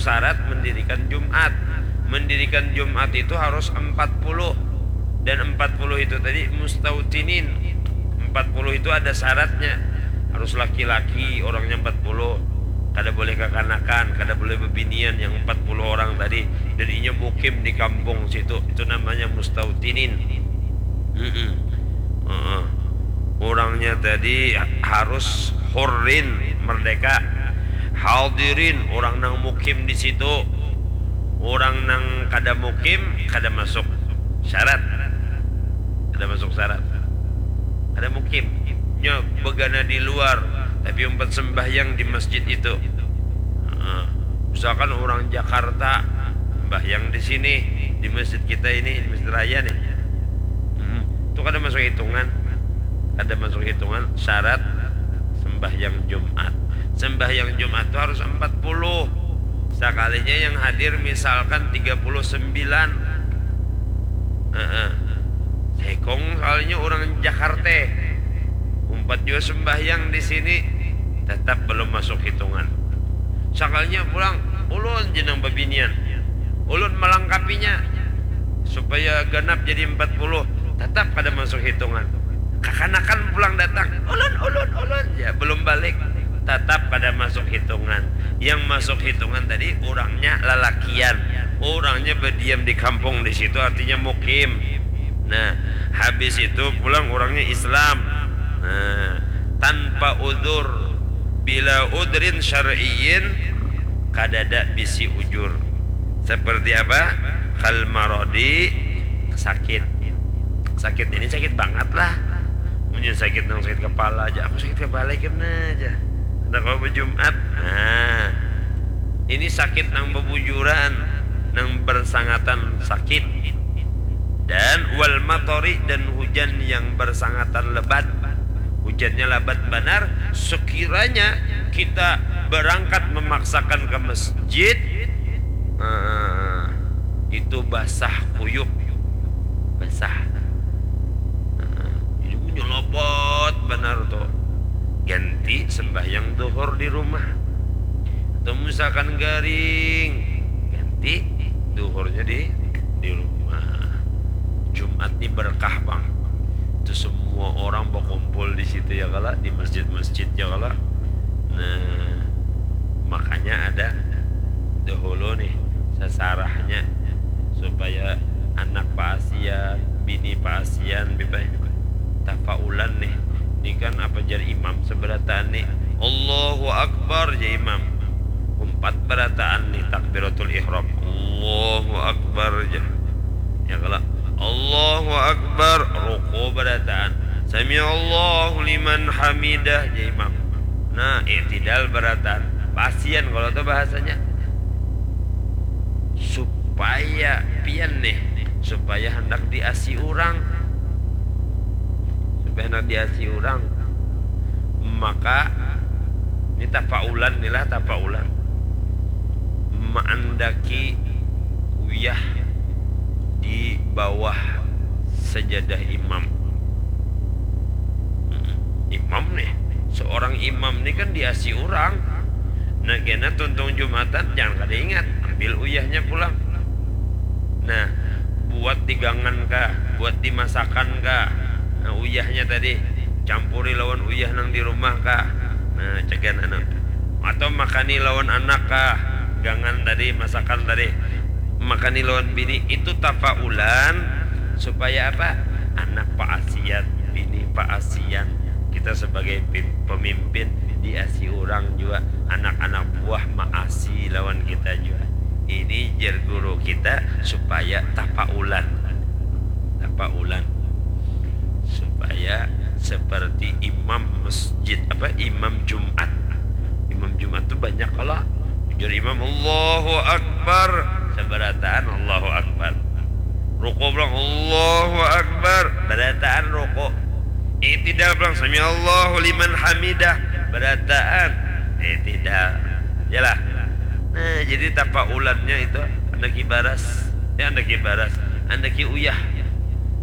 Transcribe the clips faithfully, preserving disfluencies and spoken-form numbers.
syarat mendirikan Jumat. Mendirikan Jumat itu harus empat puluh. Dan empat puluh itu tadi mustautinin. Empat puluh itu ada syaratnya. Harus laki-laki, orangnya empat puluh. Kada boleh kakanakan, kada boleh bebinian yang empat puluh orang tadi. Dan inya mukim di kampung situ. Itu namanya mustautinin. Mm-mm. Heeh. Orangnya tadi harus hurrin, merdeka. Hadirin, orang nang mukim di situ. Orang nang kada mukim, kada masuk syarat. Kada masuk syarat. Kada mukim. Nya begana di luar, tapi umpat sembahyang di masjid itu. Heeh. Misalkan orang Jakarta sembahyang di sini, di masjid kita ini, di Masjid Raya nih. Hmm, itu kada masuk hitungan. Kada masuk hitungan syarat sembahyang Jumat. Sembahyang Jumat itu harus empat puluh. Sakalinya yang hadir misalkan tiga puluh sembilan. Heeh. Sekong, sakalinya orang Jakarta. Umpat jua sembahyang di sini, tetap belum masuk hitungan. Sakalinya pulang, ulun ja nang babinian. Ulun melengkapinya supaya ganap jadi empat puluh, tetap kada masuk hitungan. Kakanakan pulang datang, ulun, ulun, ulun, ya belum balik, tetap kada masuk hitungan. Yang masuk hitungan tadi orangnya lalakian, orangnya berdiam di kampung di situ, artinya mukim. Nah, habis itu pulang orangnya Islam. Nah, tanpa udzur, bila udrin syar'iyyin, kadada bisi ujur. Seperti apa? Kal marodi, sakit. Sakit ini sakit bangat lah. Punya sakit nang sakit kepala aja, aku sakit kepala kena aja. Ada kalau Jumat. Nah, ini sakit nang bebujuran, nang bersangatan sakit. Dan wal matori, dan hujan yang bersangatan lebat. Hujannya lebat benar, sekiranya kita berangkat memaksakan ke masjid, eh, itu basah kuyup. Basah. Eh, jadi menyelopot benar tuh. Ganti sembahyang duhur di rumah. Atau misalkan garing, ganti duhurnya di di rumah. Jumat ni berkah, Bang. Itu semua orang berkumpul di situ, ya kala, di masjid-masjid, ya kala. Nah, makanya ada dahulu nih sasarahnya supaya anak paasian, bini paasian, bipai tafaulan nih. Ini kan apa jar imam seberataan nih? Allahu Akbar, jar imam. Umpat berataan nih takbiratul ihram. Allahu Akbar, jar. Ya kala, Allahu Akbar, ruku berataan. Sami Allahu liman hamidah, jar imam. Nah, i'tidal berataan. Paasian kalau tu bahasanya. Supaya pian nih, supaya handak diasi urang. Supaya handak diasi urang. Maka, ini tafaulan, inilah tafaulan. Maandaki uyah di bawah sajadah imam. Mm-mm. Imam nih, seorang imam nih kan diasi urang. Nah, kena tuntung Jumatan, jangan kada ingat, ambil uyahnya pulang. Nah, buat di gangan kah, buat di masakan kah? Nah, uyahnya tadi campuri lawan uyah nang di rumah kah? Nah, cegan anu. Atau makani lawan anak kah? Gangan tadi, masakan tadi. Makani lawan bini, itu tafaulan supaya apa? Anak paasian, bini paasian. Kita sebagai pim-, pemimpin diasi urang jua, anak-anak buah maasi lawan kita jua. Ini jar guru kita supaya tafaulan. Tafaulan. Supaya seperti imam masjid, apa, imam Jumat. Imam Jumat tu banyak kala. Ujar imam, "Allahu Akbar." Sabarataan, "Allahu Akbar." Ruku pulang, "Allahu Akbar." Barataan ruku. I'tidal pulang, "Sami Allahu liman hamidah." Barataan. I'tidal. Yalah. Nah, jadi tafaulannya itu andaki baras. Ya, andaki baras. Andaki uyah.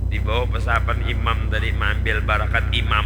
Di bawah pesahapan imam tadi, maambil barakat imam.